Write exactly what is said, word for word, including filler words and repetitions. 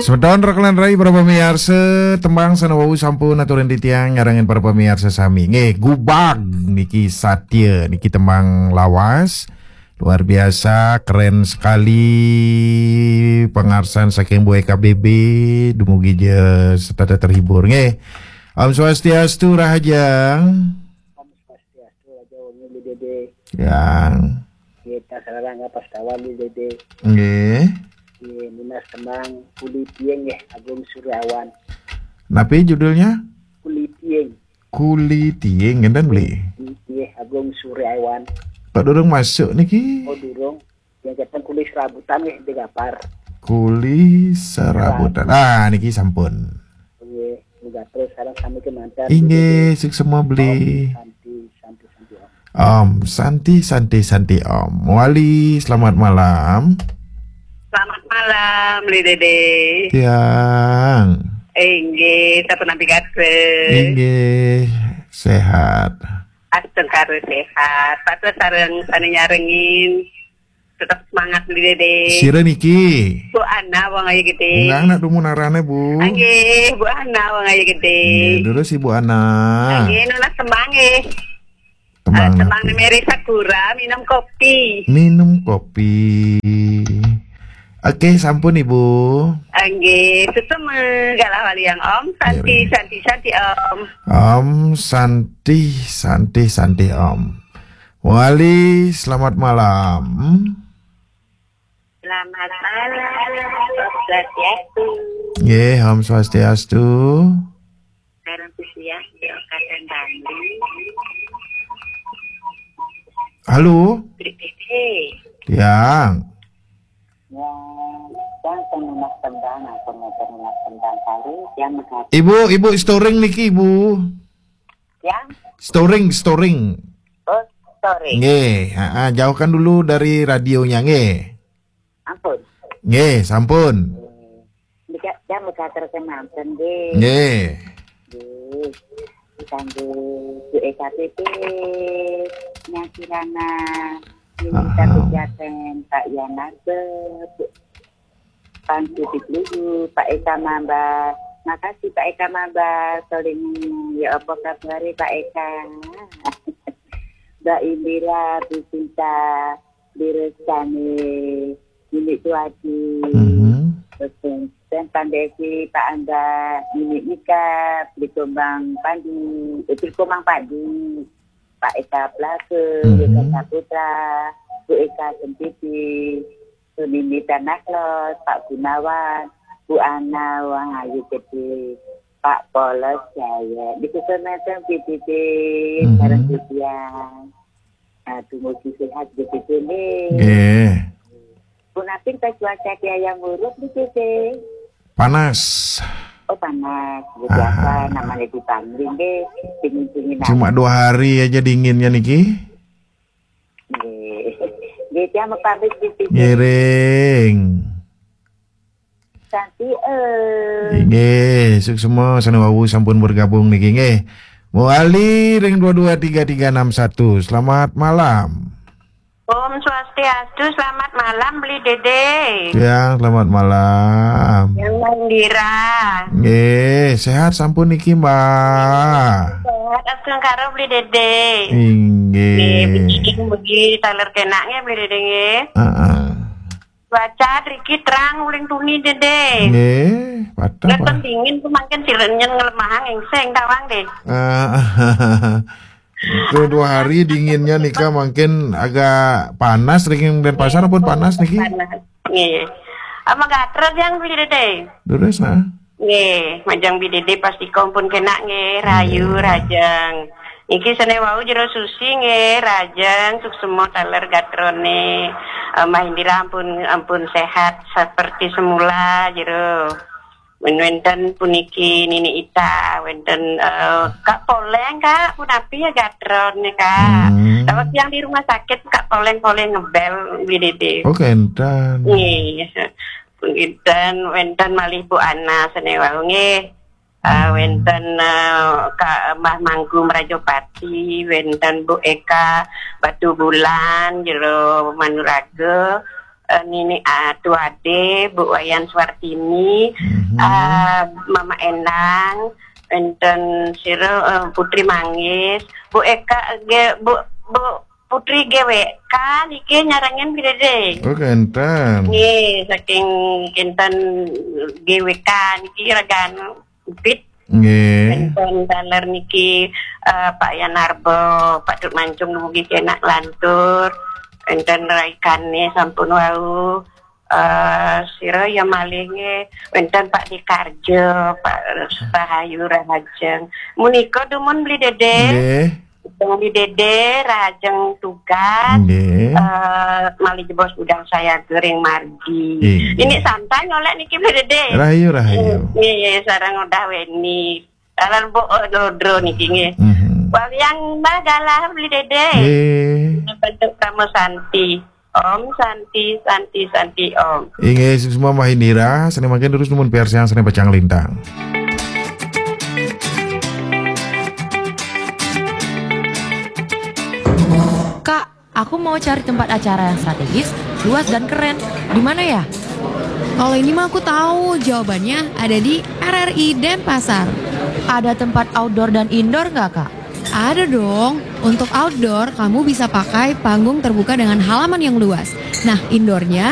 Semeton rekan rai para pamiarsa, tembang sané wau sampun aturin titiang nyarengin para pamiarsa sami. Nggih, Gubag niki satia niki tembang lawas. Luar biasa, keren sekali pangarsan saking Bu Eka B B, dumugi ja setata terhibur nggih. Om Swastiastu, Rahajeng. Om Swastiastu, Raja Wengi, Bli Dede. Yang. Kita sareng pas kawan, Bli Dede. Nggih. Nggih, nunas tembang Kuli Tiing nggih, Agung Suryawan. Napi judulnya? Kuli Tiing. Kuli Tiing, ngenten, Bli? Nggih, Agung Suryawan. Kok durung masuk niki? Oh, durung. Yang datang Kuli Serabutan nggih, di Gapar. Kuli Serabutan. Ah, niki sampun. Nggih, mugi terus sareng sami kemanten. Inggih, suksma, Bli. Om Santi, Santi, Santi, Om. Om Santi, Santi, Santi, Om. Wali, selamat malam. Selamat malam, Bli Dede. Tiang. Inggih, sapunapi kados? Inggih, sehat. Astungkara sehat. Pados sareng sané nyarengin. Tetep semangat, Bli Dede. Sira niki? Bu Ana, Wong Ayu Gedé. Undang nak dumun arané, Bu. Nggih, Bu Ana, Wong Ayu Gedé. Nggih, terus Ibu Ana. Nggih, nunas tembang nggih. Tembang Eh, tembang napi? Mary Sakura, minum kopi. Minum kopi. Oke, sampun, Ibu. Nggih, suksma galah waliang, Om. Santi, nggih, Santi, Santi, Om. Om Santi, Santi, Santi, Om. Wali, selamat malam. Selamat malam, Om Swastiastu. Nggih, Om Swastiastu. Sareng Susiah, di Kabupaten Bali. Halo. Bli Dede. Yang. Ya, yang penunas tembang, apa mau penunas tembang kali, yang mengatakan Ibu, Ibu storing niki, Ibu. Yang? Storing, storing. Oh, storing. Nggih, ha, ha, jauhkan dulu dari radionya, nggih. Ampun. Nggih, sampun. Nggih. Nika, jam udah terkenalkan, nggih. Nggih. Nggih. Kanggo Bu E K P P, Nyang Kirana, Nini Aha. Satu Jaten, Pak Yanarto, Bu Pang Sudik Luhu, Pak Eka Mamba. Makasih, Pak Eka Mamba. Soling, ya apa kabare, Pak Eka? Mbak Indira, Bu Sinta, Direstani, Nini Tuadi. Mhm. Terus, dan Pandesi, Pak Angga, Nini Ika, Beli Gombang Pandi, eh, Beli Gombang Padi, Pak Eka Plase, Mhm. Yeka Saputra, Bu Eka Sempiti, Sunini Tanah Los, Pak Gunawan, Bu Ana, Wang Ayu Gede, Pak Polos Jaya. Di Susunatan P D D, Mhm. Sareng Budian. Nah, dumugi sehat, P D D nih. Nggih. Punapi ta cuaca di Hayam Wuruk, P D D? Panas. Oh, panas. Ya, biasa, Aha. Namanya di Bangli, nggih. Dingin-dingin Cuma aja. Dua hari aja dinginnya niki. Nggih. Nggih, dia mau pamit, P D D. Ngiring. Santi, eh. Nggih, suksma sané wau sampun bergabung niki nggih. Mawali ring dua dua tiga tiga enam satu. Selamat malam. Om Swastiastu, selamat malam, Beli Dede. Ya, selamat malam. Yang Mandira. Nggih, sehat sampun niki, Mbak. Sehat, astungkara, Beli Dede. Inggih. Nggih, mugi, mugi taler kenak nggih, Beli Dede nggih. Heeh. Cuaca riki terang uling tuni, Dede. Nggih, patah, Ngeten Pak. Dingin tuh mangkin sirenyen ngelemahang engseng tawang deh. Ah, itu dua hari dinginnya nika mangkin agak panas, riki Denpasar pun panas niki. Panas. Nggih. Apa gatrot yang beli, Dede? Terus, nah. Nggih, majeng Bli Dede pasti kompun kenak nggih, rayu, nggih. Rajeng. Niki sene wau jero Susi nggih, rajeng, suksema taler gatrone. Eh, Mbah Indira ampun, ampun sehat seperti semula jero. Wenten puniki Nini Ita, wenten, eh, Kak Poleng, Kak, punapi ya gatrone, Kak? Hmm. Kalau yang di rumah sakit, Kak Poleng-poleng ngebel, Bli Dede. Oh, kenten. Nggih. Wenten, wenten malih Bu Ana sene wau nggih. Eh, hmm. Wenten, eh, Kak Mbah Manggu Mrajapati, wenten Bu Eka Batu Bulan, jero Manuraga, eh, Nini Atu Ade, Bu Wayan Suartini, Mhm. eh, Mama Endang, enten sira, eh, Putri Manggis, Bu Eka ge, Bu Bu Putri G W K niki nyarengin Bli Dede. Oh, kenten. Nggih, saking kinten G W K niki ragan Upit. Nggih. Enten taler niki, eh, Pak Yanarbo, Pak Duk Mancung dumugi kenak lantur. Enten raikane sampun wau. Eh, sira ya malih nggih. Enten Pak Dikarjo, Pak Rahayu Rahajeng. Menika dumun Bli Dede. Nggih. Bli Dede, Rahajeng Tugas. Nggih. Eh, malih jebos udang saya gering margi. Nggih. Ini santai nyolek niki Bli Dede. Rahayu, rahayu. Nggih, sareng udah weni. Dalan Bu Dodro niki nggih. Mhm. Waliang Mbah Galah Bli Dede. Nggih. Bentuk Rama Santi. Om Santi, Santi, Santi Om. Inggih, semua Mbah Indira, seni makin terus numun piarsian seni pacang lintang. Kak, aku mau cari tempat acara yang strategis, luas dan keren. Di mana ya? Kalau ini mah aku tahu, jawabannya ada di R R I Denpasar. Ada tempat outdoor dan indoor nggak, Kak? Ada dong. Untuk outdoor, kamu bisa pakai panggung terbuka dengan halaman yang luas. Nah, indoornya